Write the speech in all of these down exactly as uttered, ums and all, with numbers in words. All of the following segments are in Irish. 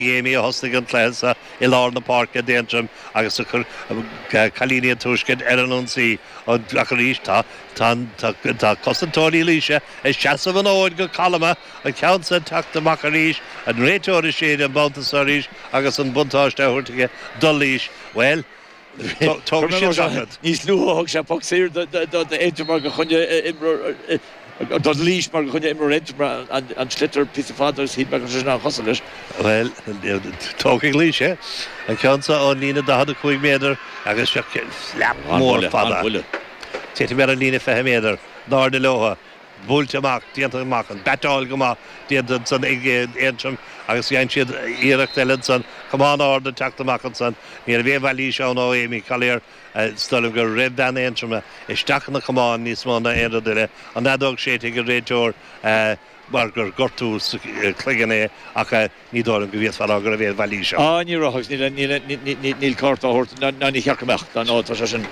Amy a thosaigh an cluiche seo i lár na páirce d'Aontroim agus a chuir cailíní an Tuaiscirt ar an ionsaí ach arís tá tá cosantóirí Laoise ag seasamh an fhóid go calma an ceann seo ag teacht amach arís an réiteoir ag séideadh an babhta seo arís agus an buntáiste á thabhairt aige do Laois. Bhuel, tógfaidh siad seachad. Níos luaithe thug sé poc saor d'Aontroim mar gur choinnigh imreoir do Laois mar gur choinnigh imreoir Aontroim an sliotar píosa fada agus shíl mé go raibh sé sin an-chosúil leis. Bhuel, tógfaidh Laois é. An ceann seo ón líne daichead a cúig méadar agus seo slap mór fada. Titim ar an líne fiche méadar. In airde leo. Buailte amach, déanta amach, an battáil go maith déanta ansan ag Aontroim agus dhein siad iarracht eile ansan, camán ard ag teacht amach ansan. Ní raibh aon mhailís ann ó Amy Collier. Is dóigh liom gur raibh bean Aontroma isteach ina camán níos mó ná aon rud eile. An fheadóg séidte ag an réiteoir mar gur gortú sa chloigeann é ach ní dóigh liom go bhféadfá a rá go raibh aon mhailís ann. Á, ní raibh agus níl cárta á thabhairt ná ní cheart go mbeadh. Ná tá sé sin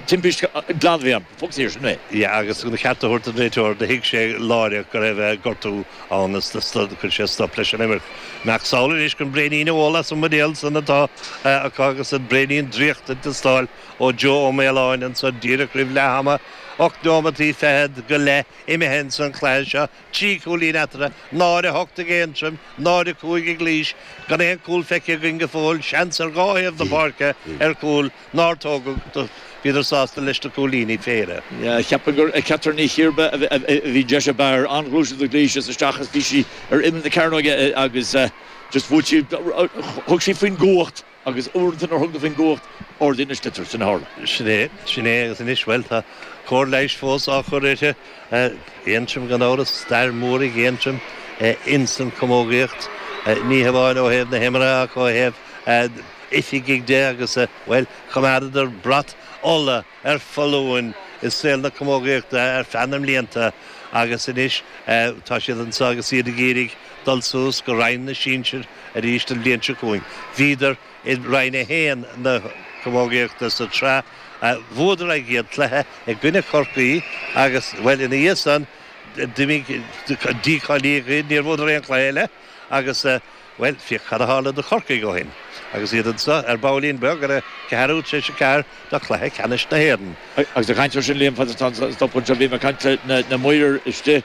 timpiste glan a bhí ann. Poc saor, sin é. Yeah, agus an ceart a thabhairt don réiteoir, do thuig sé láithreach go raibh gortú ann is chuir sé stop leis an imirt. Macasamhail anois chun braoinín a ól as an mbuidéal san atá acu agus an braoinín draíochta ag teastáil ó Joe Ó Maoláin anso díreach roimh leath ama. Ocht neomataí fichead go leith imithe ins an chluiche seo, trí chúilín eatarthu, náid a hocht ag Aontroim, náid a cúig ag Laois, gan aon chúl feicthe againn go fóill, seans ar dhá thaobh na páirce ar chúl nár tógadh, bhíodar sásta leis na cúilíní féin. Cheapfainn gur ag Catherine Ní Chiarba a bhí an deis ab fhearr, an-ghluaiseacht ag Laois is isteach is bhí sí ar imeall na cearnóige agus just bhuail sí, thug sí faoin gcumhacht. Agus uaireanta nuair a thugann tú faoin gcumhacht, ardaíonn an sliotar, sin a tharla. Sin é, sin é, agus anois, bhuel, tá cóir leighis fós á chur uirthi. Aontroim, gan amhras, stair mhór ag Aontroim ins an chamógaíocht, ní hamháin ó thaobh na himeartha ach ó thaobh oifigigh de agus, bhuel, choimeádadar brat Uladh ar foluain i saol na camógaíochta ar feadh na mblianta agus anois tá siad anseo agus iad ag iarraidh dul suas go Roinn na Sinsear arís an bhliain seo chugainn. Bhíodar i Roinn a haon na camógaíochta sa tsraith. Bhuadar a gcéad chluiche i gcoinne Chorcaí agus, bhuel, ina dhiaidh san, d'imigh, dícháilíodh iad, níor bhuadar aon chluiche eile agus, bhuel, féach cad a tharla do Chorcaigh ó shin agus iad anseo ar baillín beag ar a ceathrú tar éis a ceathair do chluiche ceannais na hÉireann. Agus ag caint air sin, Liam, fad atá an stop anseo, bhí mé ag caint le na maoir istigh.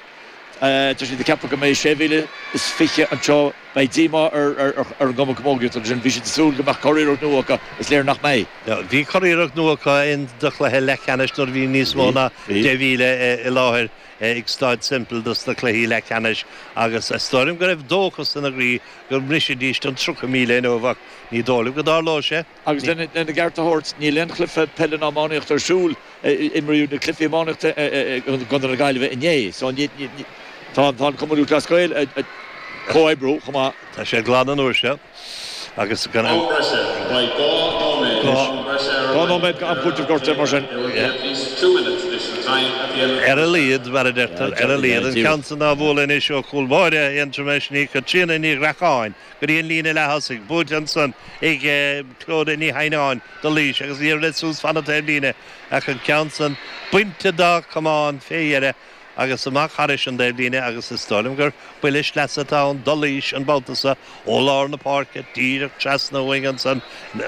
Tá siad ag ceapadh go mbeidh sé mhíle is fiche anseo. Beidh díomá ar an gCumann Camógaíochta ansin. Bhí siad ag súil go mbeadh curiarracht nua acu. Is léir nach mbeidh. Bhí curiarracht nua acu in do chluiche leathcheannais nuair a bhí níos mó ná deich mhíle i láthair ag Staid Semple dos na cluichí leathcheannais agus is dóigh liom go raibh dóchas ina gcroí go mbrisfidís an tríocha míle inniu ach ní dóigh liom go dtarlóidh sé. Agus lena gceart a thabhairt, níl aon chluiche peile ná iománaíochta ar siúl. Imríodh na cluichí iománaíochta i gContae na Gaillimhe inné. So tá an Cumann Lúthchleas Gael ag comhoibriú chomh maith. Tá sé glan an uair seo agus gan Am breise, Beidh dhá nóiméad am breise ar Dhá nóiméad am cúitimh gortaithe mar sin. There will be at least two minutes additional time at the end of the Ar a laghad, mar a deirtear, ar a laghad. An ceann san á bhualadh anois ó chúl báire Aontroma, sin í Caitríona Ní Ghreacáin go dtí an líne leath-thosaigh. Buailte ansan ag Clodagh Ní Theimhneáin do Laois agus í ag rith suas fan an taobhlíne ach an ceann san bainte dá camán fé dheireadh agus amach thairis an dtaobhlíne agus is dóigh liom gur buille sleasa atá ann do Laois an babhta so ó lár na páirce díreach trasna uainn ansan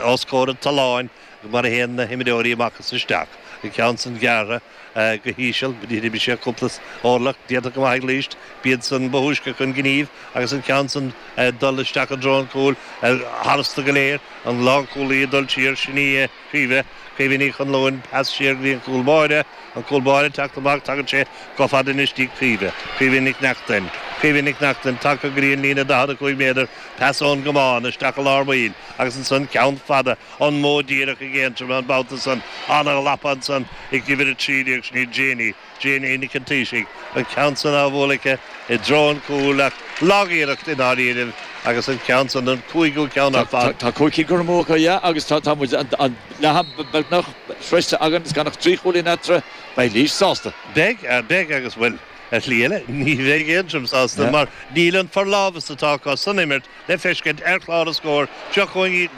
os comhair an tolláin mar a théann na himreoirí amach is isteach. An ceann san gearrtha go híseal, d'imigh sé cúpla orlach, déanta go maith ag Laois, b'iad san ba thúisce chun gnímh agus an ceann san ag dul isteach i dtreo an chúil tharstu go léir, an lánchúlaí ag dul siar, sin í Caoimhe, Caoimhe Ní Chonluain, pas siar go dtí an cúl báire, an cúl báire ag teacht amach, tagann sé chomh fada anois dtí Caoimhe, Caoimhe Nic Neachtain, Caoimhe Nic Neachtain tagtha go dtí an líne daichead a cúig méadar, pas ón gcamán isteach i lár baill agus ansan ceann fada, an modh díreach ag Aontroim an babhta san, ana-ghlapa ansan ag uimhir a trí déag, sin í Janie, Janie Nic an Taoisigh, an ceann san á bhualadh aici i dtreo an chúil ach lag-iarracht i ndáiríribh agus an ceann san, an cúigiú ceann ar fad. Tá cúig cinn curtha amú acu, yeah, agus tá muid an leath-am beagnach sroichte againn is gan ach trí chúilín eatarthu, beidh Laois sásta. Beidh, beidh agus, bhuel, ar shlí eile, ní bheidh Aontroim sásta mar níl an forlámhas atá acu san imirt le feiscint ar chlár na scór. Seo chugainn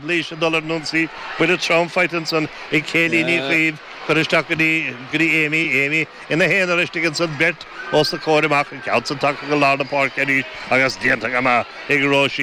Laois ag dul ar an ionsaí, buille trom faighte ansan ag Kayleigh Ní Chaoimh, Curtha isteach go dtí go dtí Amy Amy ina haonar istigh ansan beirt os a comhair amach an ceann san tagtha go lár na páirce arís agus déanta go maith ag Róisín.